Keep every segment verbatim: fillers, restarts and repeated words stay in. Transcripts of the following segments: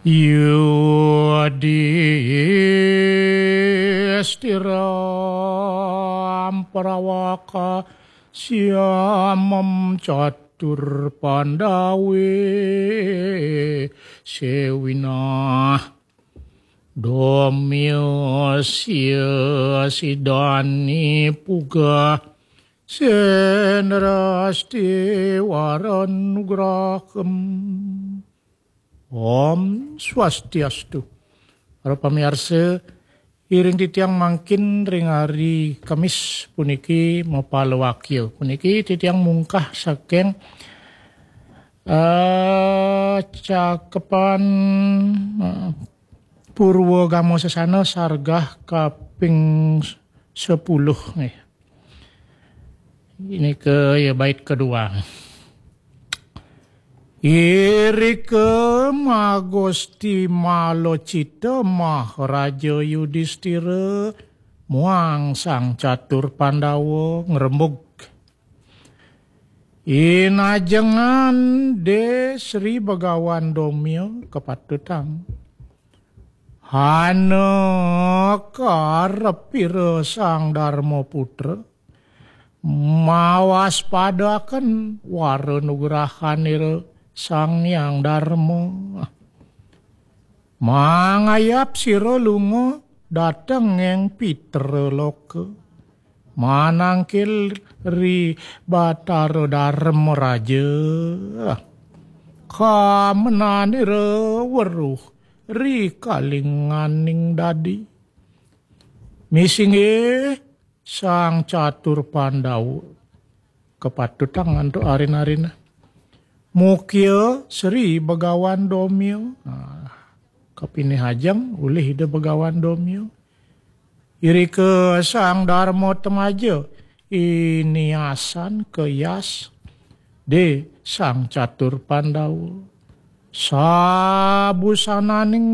Yudhistira amparāvaka syamam catur pandave sewinah domya siya sidani puga senrasti varanugraham. Om Swastiastu. Para pamiarsa, iring titiang mangkin ring hari Kemis puniki mapalawakya. Puniki titiang mungkah saking eh, cakepan eh, Purwa Gama Sasana sargah kaping sepuluh nggih. Ini ke ya bait kedua. Irika Magusti Malacita Maharaja Yudhistira muang Sang Catur Pandawa ngrembug. Inajengan de Sri Bagawan Domya kapatutang. Hana karepira Sang Dharma Putra mawaspadaken wara nugrahanira Sang Hyang Dharma. Mangayap sira lunga dhateng ing Pitra Loka. Manangkil ri Batara Dharma Raja. Kamenanira weruh ri kalinganing dadi. Misinggih Sang Catur Pandawa. Kapatutang antuk arin-arina. Mukia Sri Bagawan Domya. Nah, kapinih ajeng ulih Ida Bagawan Domya. Irika Sang Dharma Temaja iniasan kayas de Sang Catur Pandawa. Sabusananing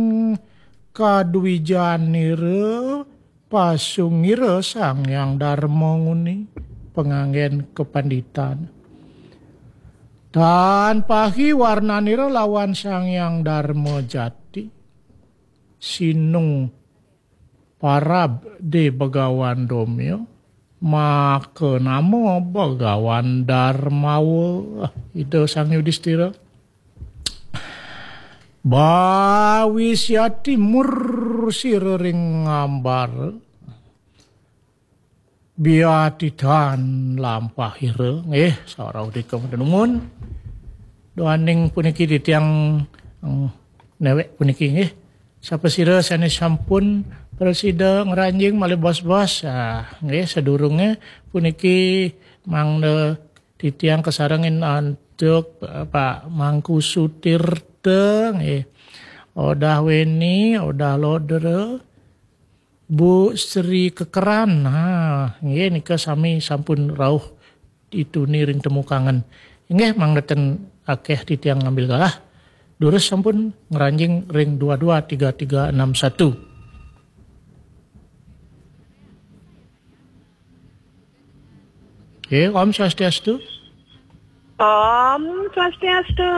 kadwijanira pasungira Sang Hyang Dharma nguni panganggen kapanditan. Tan pahi warnanira lawan Sang Hyang Dharma jati. Sinung parab de Bagawan Domya, maka nama Bagawan Darmawa. Ida Sang Yudhistira. Bawisyati mursira ring ngambara. Biatitan lampahira. Nggih, sarauh dika matenungun. Duaning puniki titiang, eh, newek puniki nggih. Sapasira sane sampun prasida ngranjing malih bos-bos. Ah, nggih, sadurunge puniki mangda titiang kasarengin antuk, eh, Pak Mangku Sutirta nggih. Odah Weni, Odah Lodra, Bu Sri Kekeran. Ha, nggih nika sami sampun rauh dituni ring temukangen. Inggih mangda ten akeh titiang ngambil galah. Durus sampun ngranjing ring dua dua tiga tiga enam satu. Nggih, Om Swastiastu. Om Swastiastu.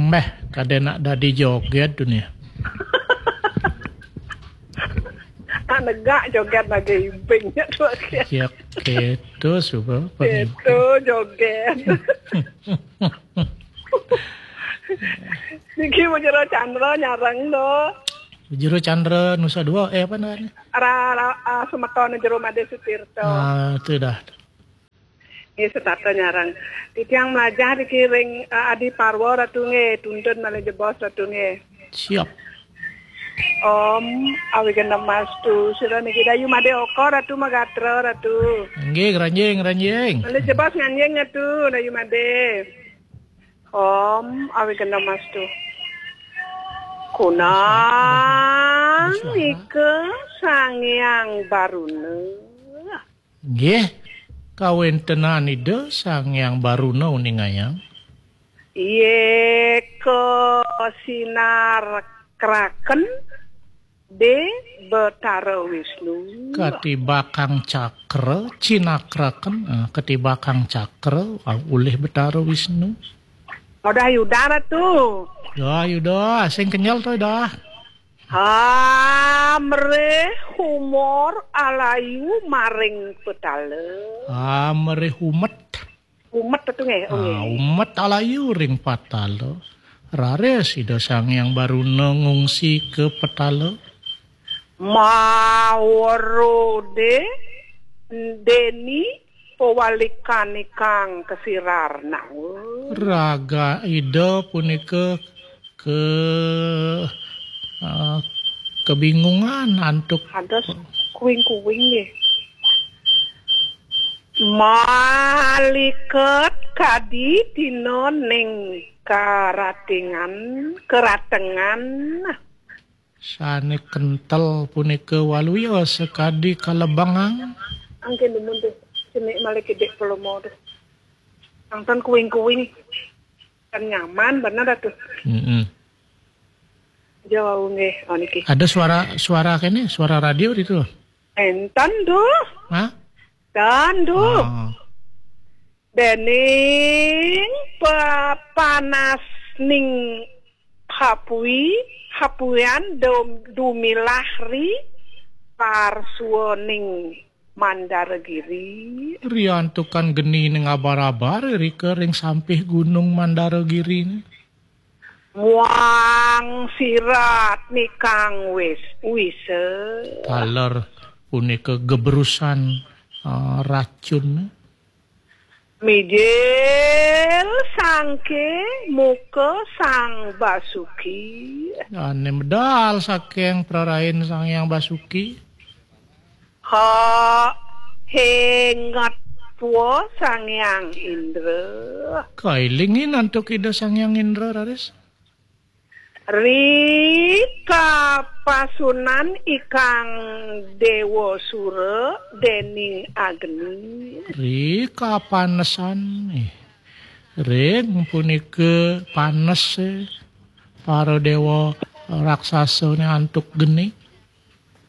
Meh, kade nak dadi joget dunia. Tak negak joget lagi ibingnya tu. Ya, gitu, suka. Gitu, joget. Niki Bujuro Chandra nyarang do. Bujuro Chandra Nusa Dua, eh, apa namanya? Ra, ra, ah, Sumeton Jero Made Sutirto. Ah, itu dah. Nggih, setata nyarang. Titiang mlajah niki ring, eh, Adi Parwa Ratu nggih, tuntun malih jebos Ratu nggih. Siap. Om Awighnam Astu, sira niki Dayu Made Oka Ratu Magatra Ratu. Nggih, ngranjing, ngranjing. Malih jebos nganjing Ratu, Dayu Made. Om Awighnam Astu. Kunang ika Sang Hyang Baruna. Nggih, kawentenan Ida Sang Hyang Baruna uningayang. Yeka sinar kraken de Betara Wisnu. Katibakang cakra, cinakraken, eh, katibakang cakra, ah, ulih Betara Wisnu. Odah Yuda Ratu. Dah, Yuda, sing kenyel to, dah. Amrih humor alayu maring petala. Amrih umet. Umet to nggih, oh, Ah, nggih. Umet alayu ring patala. Raris Ida Sang Hyang Baruna ngungsi ka petala. Mawarode deni pawalikanikang kasirar nawa. Raga Ida punika ke, ah, kebingungan antuk Ada kuing-kuing nggih. Maliket kadi dina ning karatingan, keratengan. Sane kentel punika waluya sakadi kalebengang. Angke demen tuh, cenik malih kidik pelomo tuh. Nonton kuing-kuing. Kan nyaman bener dah tuh. Mm-mm. Jauh nggih, oh niki. Ada suara, suara kene, suara radio itu. Enten tuh. Hah? Enten tuh. Oh. Dening pe-, panas ning hapui, hapuian dum-, dumilah ri parsuaning Mandaragiri. Riantukan geni ning abar-abar rika ring sampih Gunung Mandaragiri. Muang sirat nikang wis, wisa. Taler punika gebrusan, eh, racun. Mijil sangke muka Sang Basuki. Ane medal saking prarain Sang Hyang Basuki. Ha, hengat tua Sang Hyang Indra. Kailingin antuk Ida Sang Hyang Indra, raris. Ri kapasunan ikang Dewa Sura dening Agni. Ri kapanesan, eh. Ring punika panes, eh, para dewa raksasa ne antuk geni.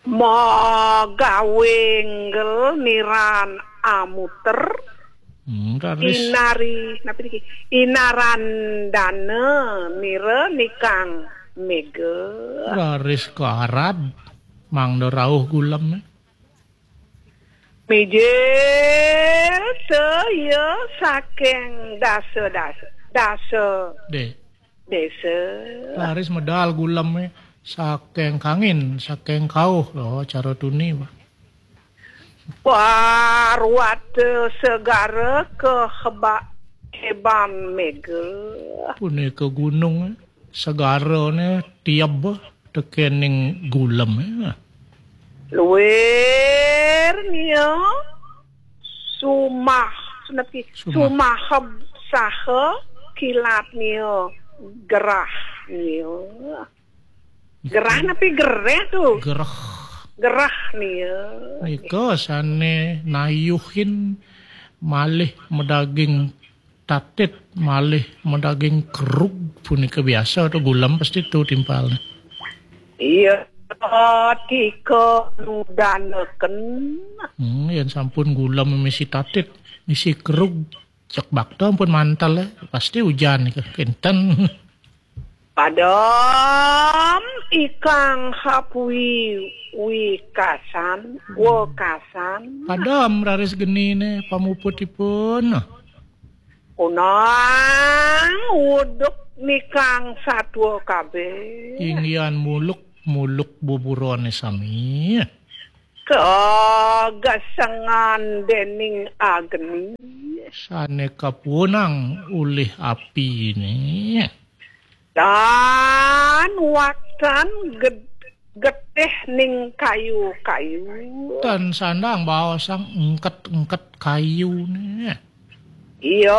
Magawenggel niran amuter. Hmm, raris. Inari, napa niki? Inarandana nira nikang mega. Raris karad, mangda rauh gulem. Mijil saya saking dasa, dasa, dasa. Dek. Desa. Laris medal guleme saking kangin, saking kauh, lho, cara tuni, Pak. Parwata segara keheba-, heban mega. Punika gunung, segarane tieb tekening guleme. Luir nia sumah, sunapi? Sumah. Sumaheb saha kilat nia gerah nia. Gerah napi gereh tu? Gerah. Gerah nia. Nika sane nayuhin malih madaging tatit, malih madaging kerug punika biasa tu gulem pasti tu timpalne. Iya, tika nudanaken. Hmm, yen sampun gulem misi tatit, misi kerug, cek bakta ampun mantel, eh, pasti ujan nika, kinten. Padem ikang hapui wikasan, wekasan. Padem raris genine pamuputipun. Unang wuduk nikang satua kabeh. Inggihan muluk, muluk buburane sami. Kagesengan dening agni. Sane kapunang ulih apine. Tan waktan ged-, getih ning kayu-kayu. Tan sandang baosang engket-engket kayune. Iya,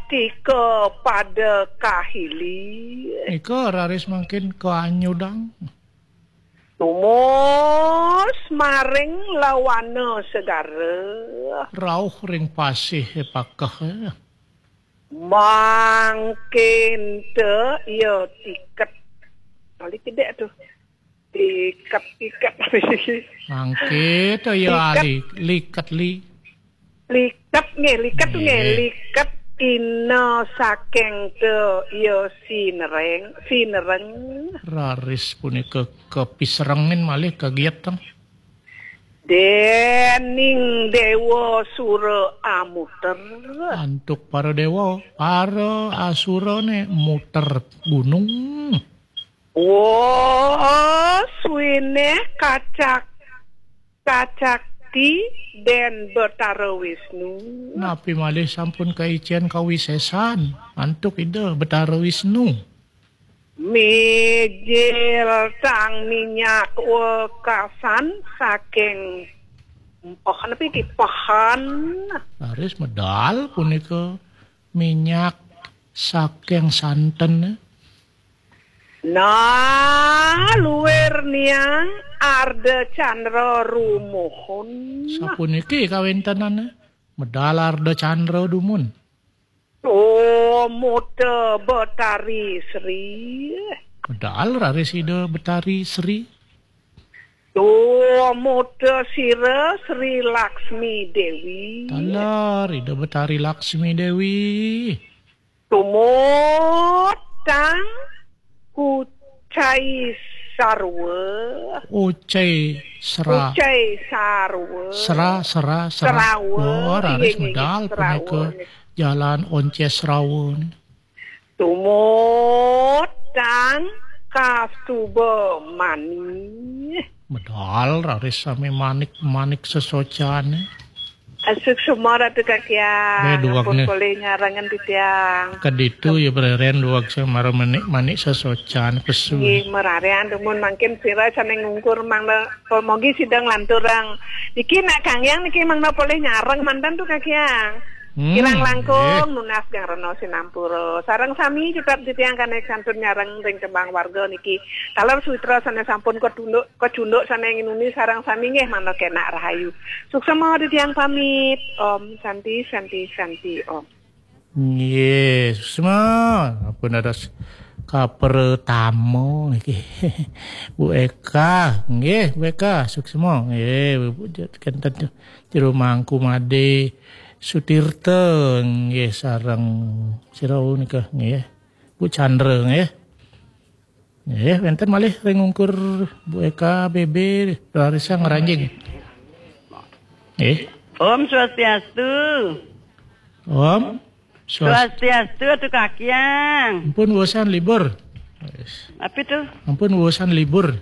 tika pada kahili. Nika raris mangkin kaanyudang. Tumus maring lawana segara. Rauh ring pasih pakeh. Mangkin te iya tiket. Balik kedek tuh. Tiket, tiket. Mangke to ya. Liket. Ali, liket li. Liket nggih, liket tuh nggih. Nggih. Liket ina saking te ya sinereng, sinereng. Raris punika kapisrengin malih kagiat teng. Dening Dewa Sura Amuter. Antuk para dewa, para asurane muter gunung. Wah, suwene kacak-, kacakti Den Betara Wisnu. Napi malih sampun kaicen kawisesan antuk Ida Betara Wisnu. Mijil tang minyak wekasan saking pohon, napi ki pohon? Raris medal punika minyak saking santen. Nah, luir niang Arda Candra rumuhun. Sapuniki kawentenane, medal Arda Candra dumun. Tumut Betari Sri. Medal raris Ida Betari Sri. Tumut sira Sri Laksmi Dewi. Taler Ida Betari Laksmi Dewi. Tumut tang Ucai Sarwa. Ucai Sera. Ucai Sarwa. Sera, Sera, Sera. Serawa. Oh, raris, inggih, inggih, medal Serawa punika niki. Jalan Onces Serawa niki. Tumut tang Kastuba Mani. Medal raris sami manik-manik sesocane. Asuk semua Ratu Kakiang. Eh, duwag ampun ne. Polih nyarengan titiang. Keditu ya bereren duwag semara manik-manik sesocan pesu. Nggih, merarian dumun mangkin sira sane ngungkur mangda pemogi sidang lanturang. Niki nak Kang Yang niki mangda polih nyareng mantan tu Kakiang. Hmm, kirang langkung nggih. Nunas gang rena sinampura. Sareng sami tetap titiang kane kantun nyareng ring tembang warga niki. Taler suitra sane sampun kecunduk, kecunduk sane nginuni sareng sami nggih mangda kenak rahayu. Suksma titiang pamit. Om Santi, Santi, Santi, Om. Nggih, suksma. Ampun dados kapertama niki. Bu Eka, nggih, Bu Eka, suksma. Nggih, Bu, Bu, kenten jero mangku made Sutirta, nggih, sareng sira nika, nggih. Bu Chandra, nggih. Nggih, wenten malih ring ungkur Bu Eka B B, Larissa Ngranjing. Nggih. Om Swastiastu. Om Swast- Swastiastu, Atu Kakiang. Ampun wusan libur. Apa tu? Ampun wusan libur.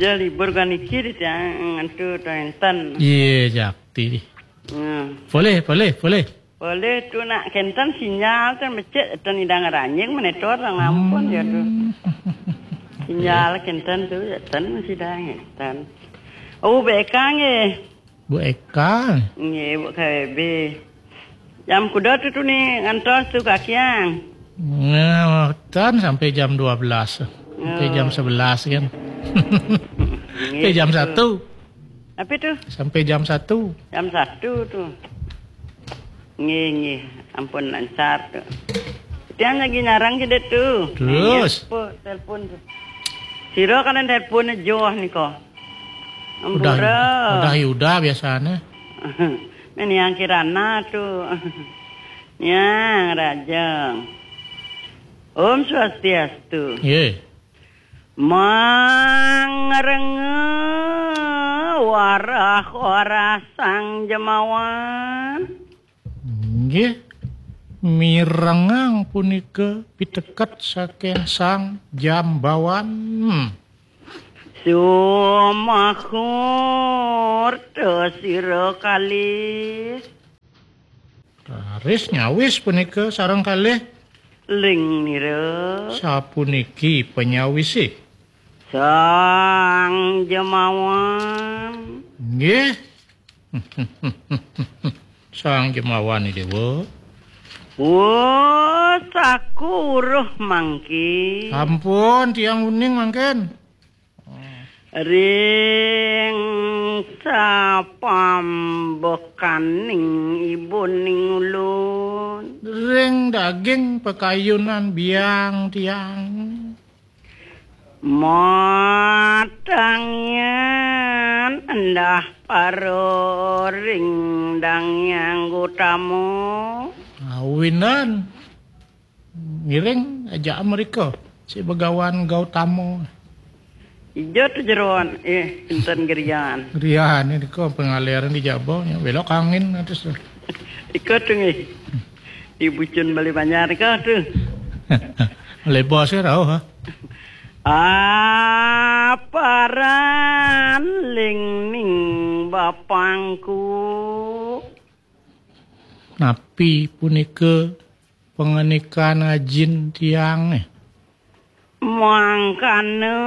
Ya, libur kan iki di tiang entu to enten. Iya, jakti. Hmm. Boleh, boleh, boleh. Boleh tu nak kenten sinyal tu mecek tu nidang ranjing menetor ngampun ya tu. Hmm. Sinyal kenten tu ya ten sidang ten. Oh, bekang eh. Bu Eka. Nggih, Bu K B B. Jam kuda tu, tu ni ngantos tu Kakiang? Nah, tan sampai jam dua belas. Sampai jam sebelas kan. Sampai jam satu. Apa tu? Sampai jam satu. Jam satu tu. Nggih, nggih. Ampun lancar tu. Tiang lagi nyarang ke tu. Terus? Nggih, apa? Telepon tu. Sira kan telepon joh ni ko. Udah, Ampura. Udah Yuda biasanya. Ini yang Kirana tu. Yang Rajang. Om Swastiastu. Ye. Mangrenge warah-warah Sang Jemawan. Nggih, mirengang punika piteket saking Sang Jambawan. Sumahurta sira kalih. Raris nyawis punika sareng kalih. Ling nira. Sapuniki panyawise. Sang Jemawan. Nggih. Sang Jemawan, Dewa. Wah, saku uruh mangke. Ampun, tiang uning mangken. Ring sapambekaning ibuning ulun. Ring daging pakayunan biang tiang. Matangian endah paro ring dangiang utama. Awinan. Ngiring aja mereka. Si Begawan Gautama. Ija tu jeroan, eh, enten gerian. Gerian ini kau pengaliran di Jaba, ya, belok angin atas tu. Iko tu nggih. Di Bucun Bali Banjar iko tu. Lebar saya tahu, ha. Aparan ling ning bapangku. Napi punika pangandikan ajin tiange? Mangkana,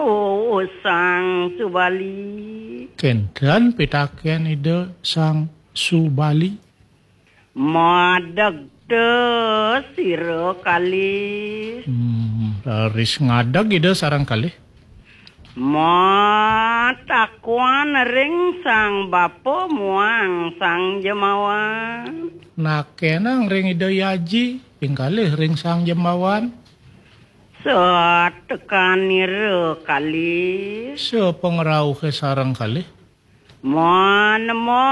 oh, Sang Subali. Kenten pitaken Ida Sang Subali. Madeg te sira kalih. Hmm, raris ngadeg Ida sareng kalih. Matakuan ring Sang Bapa muang Sang Jemawan. Nakenang ring Ida Aji, ping kalih ring Sang Jemawan. Satekanira kalih. Sapangrauhe sareng kalih. Manembah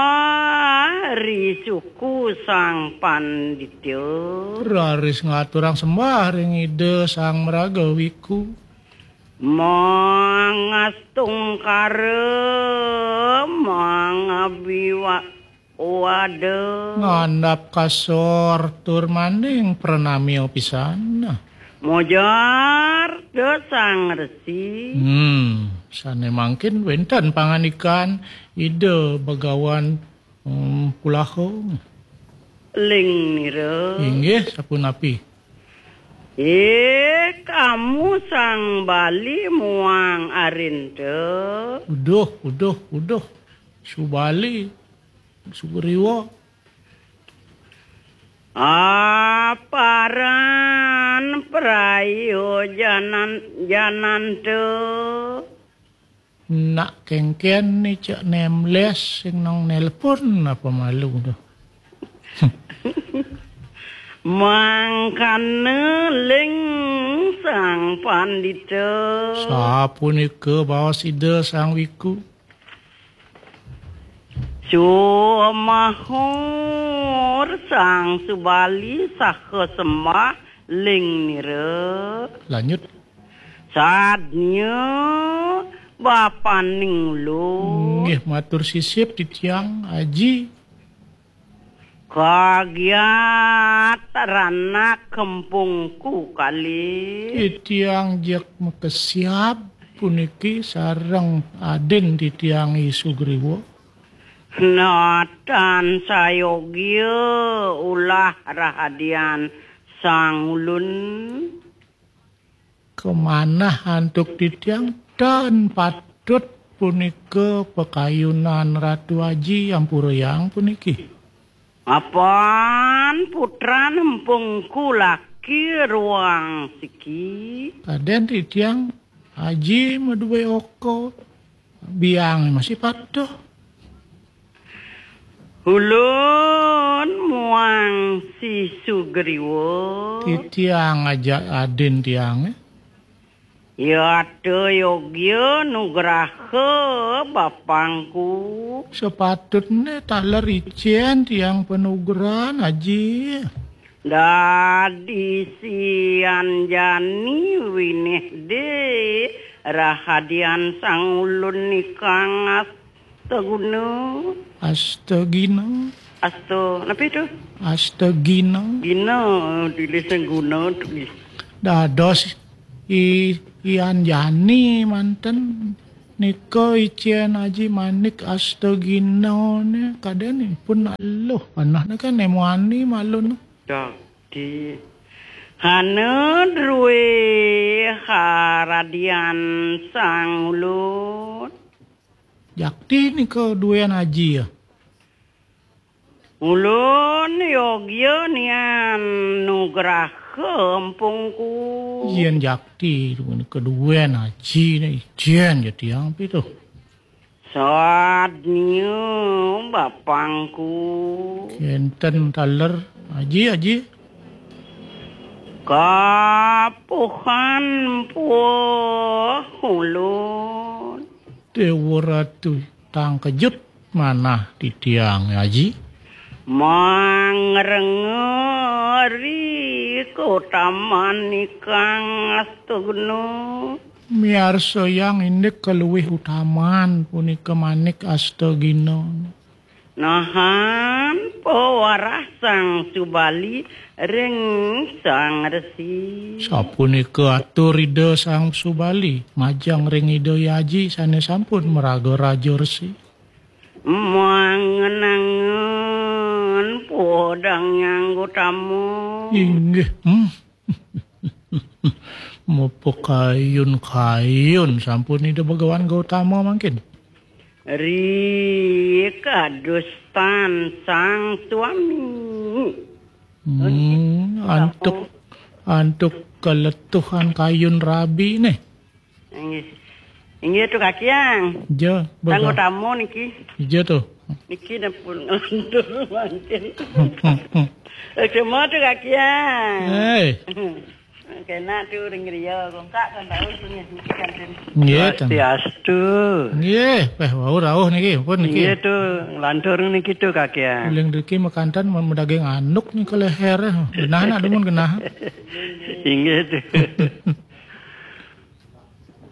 ri suku Sang Pandita. Raris ngaturang sembah ring Ida Sang Maraga Wiku. Mangastungkara, mangabiwa-, wada. Ngandap kasor tur maning pranamya pisan. Mojar da Sang Resi. Hmm, sane mangkin wenten pangandikan Ida Begawan, hmm, Pulaha. Ling nira. Inggih, sapunapi? Eh, kamu Sang Bali muang Arinta. Uduh, uduh, uduh. Subali, Sugriwa. Aparan prayojanan jananta. Nak kengken ni cek nemles sing nong nelpon apa malu tu. Mangkana ling Sang Pandita. Sapunika baos Ida Sang Wiku. Sumahur Sang Subali saha sembah ling nira. Lanjut. Sadnya bapaning ulun. Nggih, matur sisip titiang Aji. Kagiat ranak kempungku kalih. Titiang jek makesiab puniki sareng adin titiang I Sugriwa. Natan sayogya ulah rahadian sang ulun. Kamanah antuk titiang tan patut punika pakayunan Ratu Aji, ampurayang puniki. Apan putran empungku laki ruang siki. Kaden titiang Aji madue oka. Biang masih patuh. Ulun muang si Sugriwa. Titiang aja adin tiang, eh. Yata yogya nugraha bapangku. Sepatutne taler icen tiang panugrahan, Aji. Dadi sianjani winih de rahadian sang ulun nikang astaguna. Astagina. Asto, napi tu? Astagina. Gina, tulis yang guna tu. Dados i, ianjani manten nika icen Aji Manik astagina ne kaden pun aluh panah ne kan nemuani malun. Dakti. Hana drue haradian sang ulun. Jakti nika duen Aji ya. Ulun yogya nian nugraha empungku. Yen jakti nika duen Aji ne icen ja tiang pitu. Sadnya bapangku. Kenten taler, Aji, Aji. Kapuhan puh ulun. Dewa Ratu, tang kejut manah titiang, Aji. Mang Ngrengeri kautaman ikang astagna. Miarsa yang indik kaluwih utaman punika Manik Astagina. Nahan pawarah Sang Subali ring Sang Resi. Sapunika atur Ida Sang Subali majeng ring Ida Aji sane sampun maraga Raja Resi. Mangenangan podang nyang utama. Inggih. Hmm. Mupuk kayun-kayun sampun Ida Bhagawan Gautama mangkin. Ri kadustan sang suami. Hmm, antuk, antuk kaletuhan kayun rabi nih. Inggih. Inggih tu Kakiang. Ja, Sang baga. Utama niki. Ija tu. Niki nepun ngelantur mangkin. Semua tu Kakiang. Hei. Kena tu ring griya, kongkak kan tahu tu niki kantin. Nggih, ten. Swastiastu. Nggih, peh wau rauh niki, pun niki. Nggih tu, ngelantur niki tu Kakiang. Uling driki makanten men medaging anduk nika leher. Genah nak dumun genah. Inggih tu.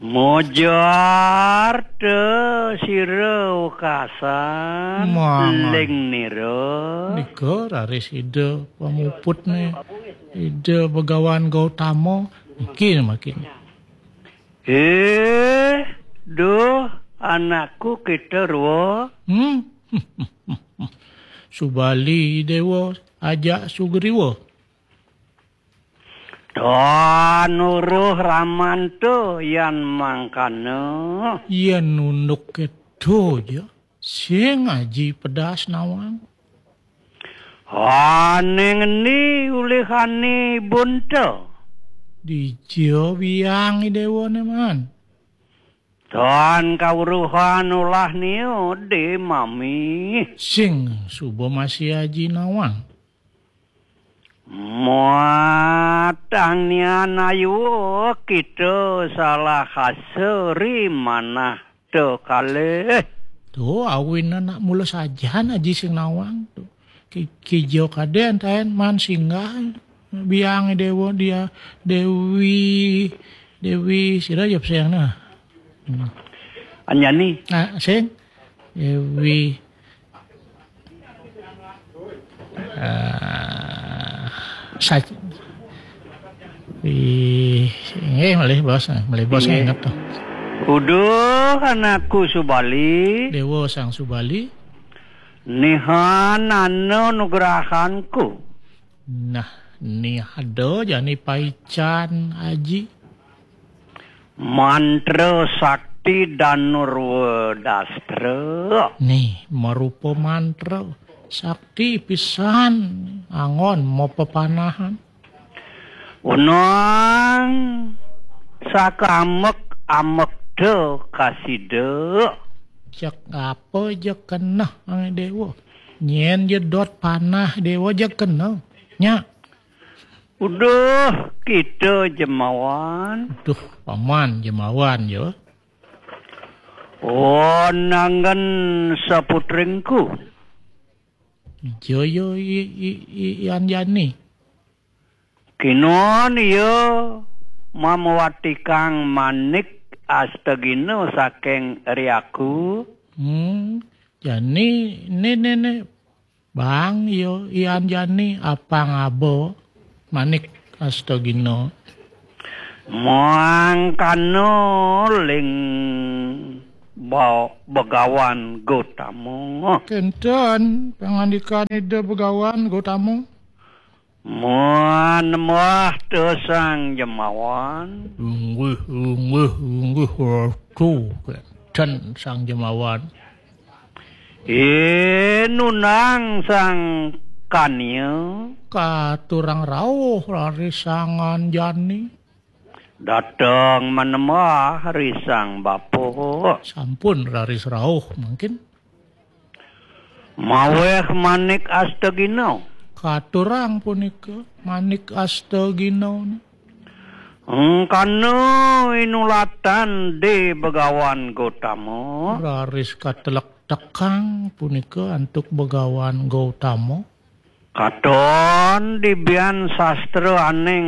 Mojar te sira wekasan Mangan. Ling nira. Nika raris Ida pamuputne, Ida Begawan Gautama, niki makin. Eh, duh, anakku kita rua. Hmm. Subali Dewa, ajak Sugriwa. Tan uruh ramanta yan mangkana. Yen unduk keto ja, sing aji pedas nawang. Ane ngendi ulihane bunta? Dija biang Idewane man. Tan kauruhan ulah nia de mami. Sing suba masih aji nawang. Muatang nian ayu kita salah asa ri manah te kalih. Tu awin anak mula sajan aji sing nawang tu. Ki-, kijo kaden taen man singgah biang Dewa dia Dewi, Dewi sira ya sayang nah. Hmm. Anjani. Ah, sing. Dewi. Ah, sa-, wi-, nggih, malih bos, malih bos. Nggih. Nginget to. Uduh anakku Subali. Dewa Sang Subali. Nihan ana nugrahanku. Nah, ni ada jani paican aji. Mantra sakti Danurwa Dastra. Nih, marupa mantra sakti pisan angon mapapanahan. Unang sakamek-amekta kasida. Cek apa je keneh, Dewa? Nyen jedot panah Dewa je keneh. Nya. Uduh, kita jemawan. Duh, paman jemawan je. Oh, nanggen saputringku. Joyo i, i, i, i Anjani. Kinon iya mamawatikang manik astagina saking riaku. Hmm, jani ne, ne, ne. Bang, yo, ian jani apang aba manik astagina. Mangkana ling ba-, Begawan Gotama. Kenten pangandikan Ida Begawan Gotama. Muan mah te Sang Jemawan. Unggih, unggih, unggih, ratu, kenten Sang Jemawan. Inunang Sang Kania. Katurang rauh raris Sang Anjani. Dateng manembah ri Sang Bapa. Sampun raris rauh mangkin. Maweh manik astagina. Katurang punika manik astagina. Engkana inulatan de Begawan Gotama. Raris katelek tekang punika antuk Begawan Gotama. Katon dibian sastra aning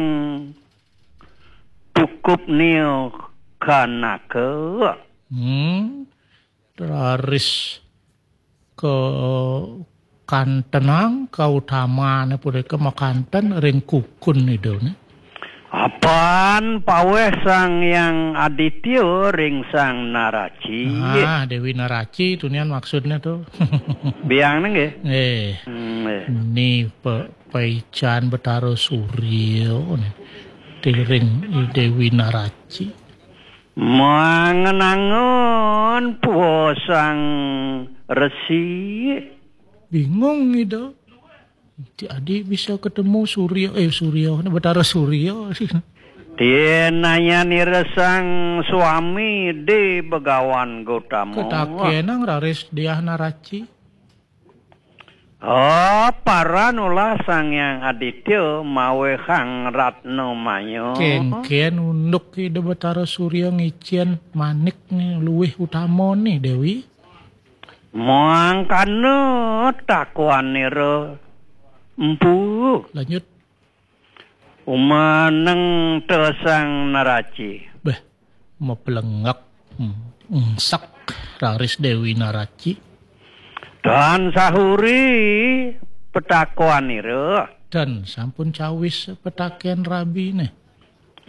tukup nio kanaka. Hmm, raris ke kantenang kautamané punika makanten ring kukun Ida né. Apan paweh Sang Hyang Aditya ring Sang Naraci. Ah, Déwi Naraci tunian maksudnya tuh. Biang nggih. Eh, Hmm, nggih. Ni pe, paican Betara Surya né. Tiring Déwi Naraci. Mangenangun puwa Sang Resi. Bingung Ida. Ti adi bisa ketemu Surya, eh, Surya, Betara Surya. Tien nayanira Sang Swami di Begawan Gotama. Ketakenang raris Diah Naraci. Oh, paran ulah Sang Hyang Aditya mawehang Ratna Maya. Kénkén unduk Ida Betara Surya ngicén manik né luwih utama né, Déwi. Mangkana takuanira empu. Lanjut. Umaneng te Sang Naraci. Beh, maplengek. Hmm, engsek raris Déwi Naraci. Tan sahuri petakuanira. Dan sampun cawis petakén rabiné.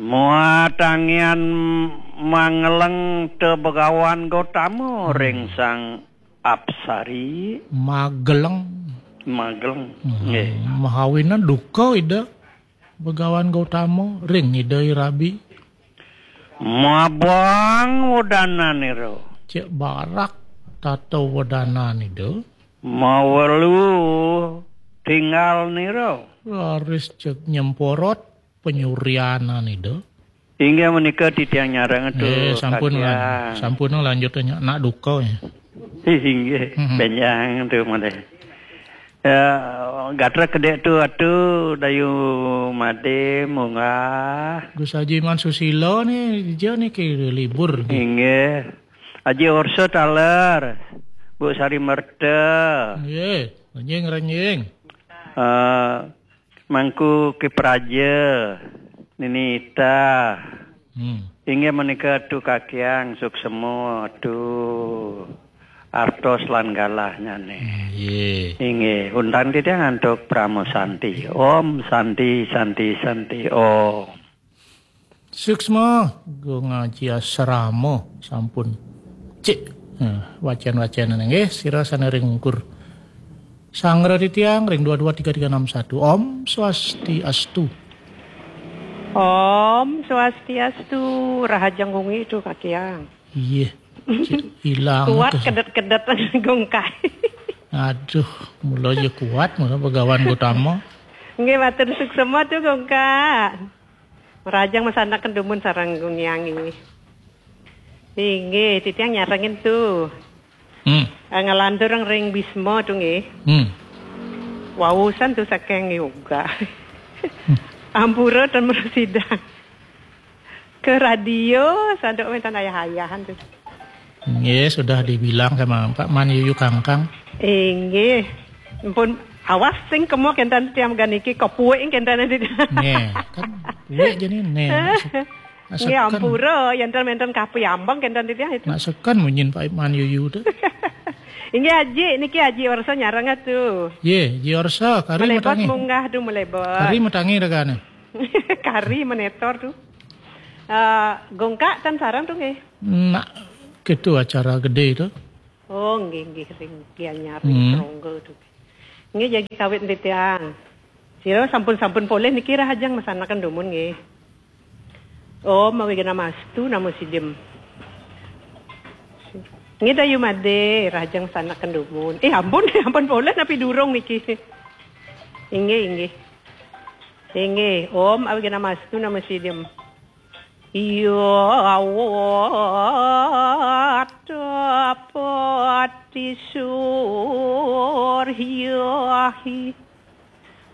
Muatangian mangeleng te Begawan Gotama ring Sang Apsari. Mageleng. Mageleng. Hmm, nggih. Mahawinan duka Ida Begawan Gotama ring Ida I Rabi. Mabang wedananira. Cek barak tata wedanan Ida. Mawelu tinggalnira. Raris cek nyemporot penyurianan Ida. Inggih menika titiang nyareng tu. Eh, sampun lan-, sampun lanjut nya nak duka ya. Inggih, hmm, benjang tu malih. Ya, gatra kedek tu atu Dayu Made munggah. Gus Haji Man Susilo ni, dia ni ke libur ni. Inggih. Haji Orso taler. Bu Sari Merta. Nggih, renjing, renjing. Eh, Mangku Kipraja, Nini Ita. Hmm. Inggih menika tu kakiang suksema tu artos lan galahnyané. Nggih. Inggih, undang titiang antuk Parama Santi. Om Santi, Santi, Santi, Om. Suksma, Gung Aji Asrama, sampun. Cik. Nah, wacan-wacanan nggih, sira sané ring ungkur. Sangra titiang ring dua dua tiga tiga enam satu. Om Swastiastu. Om Swastiastu, rahajeng wengi tu kakiang. Iya. Cik, ilang. Kuat kedet-kedet Gung Kai. Aduh, mula ya kuat, mula Begawan Gotama. Nggih, matur suksma tu Gung Kai. Rahajeng masandekan dumun sareng Gung Hyang nggih. Inggih, titiang nyarengin tu. Hmm. Eh, ngalantur ring Bisma tu nggih. Hmm. Wausan tu saking yoga. Hmm. Ampura ten mrasidang. Ke radio, sanduk wénten ayah-ayahan tu. Nggih, sudah dibilang sama Pak Man Yuyu Kangkang. Inggih. Ampun, awas sing kemo kénten tiang ganiki kepuik kénten nanti. Nggih, kan puik jani né. Nggih, ampura, yénten ménten kapi ambeng kénten titiang itu. Nak sekan munyin Pak Man Yuyu tu. Inggih Aji, niki Aji Orsa nyareng tu. Yé, Ji Orsa, kari malebot matangi. Munggah tu malebot. Kari matangi ragané. Kari menetor tu. Eh, Gongkak tan sareng tu nggih. Nak gitu acara gedé tu. Oh, nggih, nggih, ring Gianyar, hmm, ring Tronggo tu. Nggih, jagi kawit titiang. Sira sampun-sampun polih niki rahajeng masandekan dumun nggih. Om Awighnamastu Namo Siddhim. Nggih, Dayu Made, rahajeng masandekan dumun. Eh, ampun, ampun polih napi durung niki. Inggih, inggih. Inggih, Om Awighnamastu Namo Siddhim. Iya, awat pati suryahi.